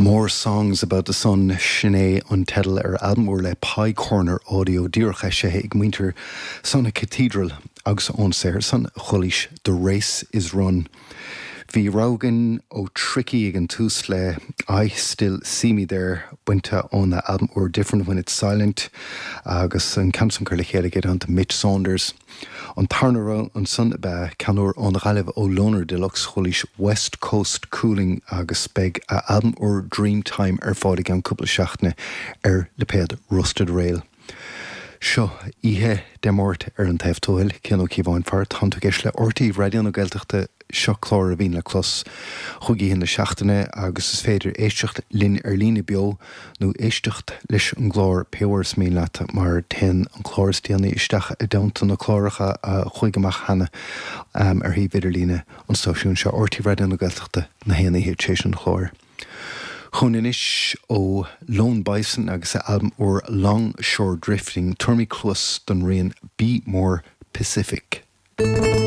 More Songs About the Sun, sin é an teideal ar albam úr le Pie Corner Audio, díreach eisithe ag muintir Sonic Cathedral agus ón saothar san chualaís The Race Is Run. Bhí rogha againn ó Tricky ag an tús le I Still See Me There bainte óna albam úr Different When It's Silent agus an ceann san curtha le chéile aige i dteannta Mitch Saunders. An tarna rogha ansan ab ea ceann úr ón Ghaillimh ó Loner Deluxe, chualaís West Coast Cooling agus beidh a albam úr Dreamtime ar fáil i gceann cúpla seachtaine ar lipéad Rusted Rail. Seo oíche Dé Máirt ar an taobh tuathail, Cian Ó Cíobháin faraor, Tánn tú ag éisteacht le RTÉ Raidió na Gaeltachta, seo clár a bhíonn le clos chúig oíche na seachtaine agus is féidir éisteacht linn ar líne beo nó éisteacht leis an gclár pé uair is mian leat mar téann an clár is déanaí isteach i dteannta na cláracha a chuaigh amach cheana ar shuíomh idirlíne an stáisiúin seo, RTÉ Raidió na Gaeltachta, na haon oíche tar éis an chláir. Chugainn anois ó Lone Bison agus a albam úr Long Shore Drifting, tabharfaimid cluas don rian Be More Pacific.